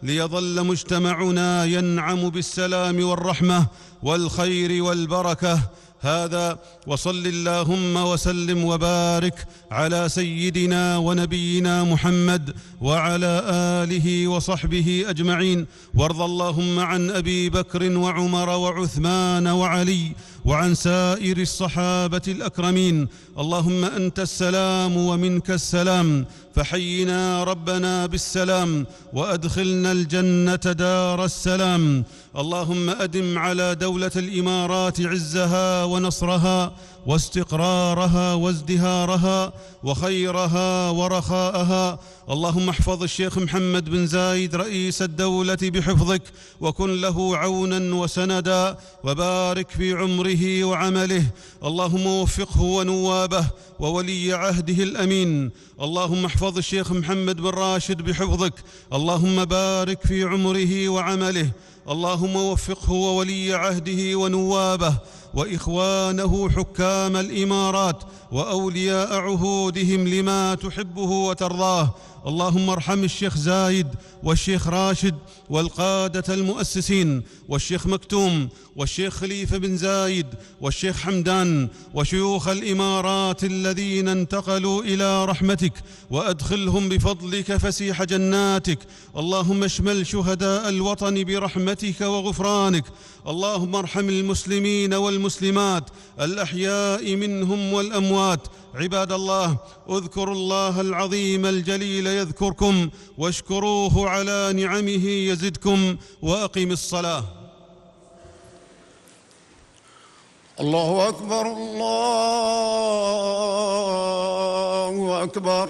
ليظل مجتمعنا ينعم بالسلام والرحمة والخير والبركة. هذا وصل اللهم وسلم وبارك على سيدنا ونبينا محمد وعلى آله وصحبه أجمعين. وارض اللهم عن أبي بكر وعمر وعثمان وعلي وعن سائر الصحابة الأكرمين. اللهم أنت السلام ومنك السلام، فحينا ربنا بالسلام وأدخلنا الجنة دار السلام. اللهم أدم على دولة الإمارات عزها ونصرها واستقرارها وازدهارها وخيرها ورخاءها. اللهم احفظ الشيخ محمد بن زايد رئيس الدولة بحفظك، وكن له عونا وسندا، وبارك في عمره وعمله. اللهم وفقه ونوابه وولي عهده الأمين. اللهم احفظ الشيخ محمد بن راشد بحفظك. اللهم بارك في عمره وعمله. اللهم وفقه وولي عهده ونوابه وإخوانه حكام الإمارات وأولياء عهودهم لما تحبه وترضاه. اللهم ارحم الشيخ زايد والشيخ راشد والقادة المؤسسين والشيخ مكتوم والشيخ خليفة بن زايد والشيخ حمدان وشيوخ الإمارات الذين انتقلوا إلى رحمتك، وأدخلهم بفضلك فسيح جناتك. اللهم اشمل شهداء الوطن برحمتك وغفرانك. اللهم ارحم المسلمين والمسلمات الأحياء منهم والأموات. عباد الله، اذكروا الله العظيم الجليل يذكركم، واشكروه على نعمه يزدكم، وأقم الصلاة. الله أكبر، الله أكبر.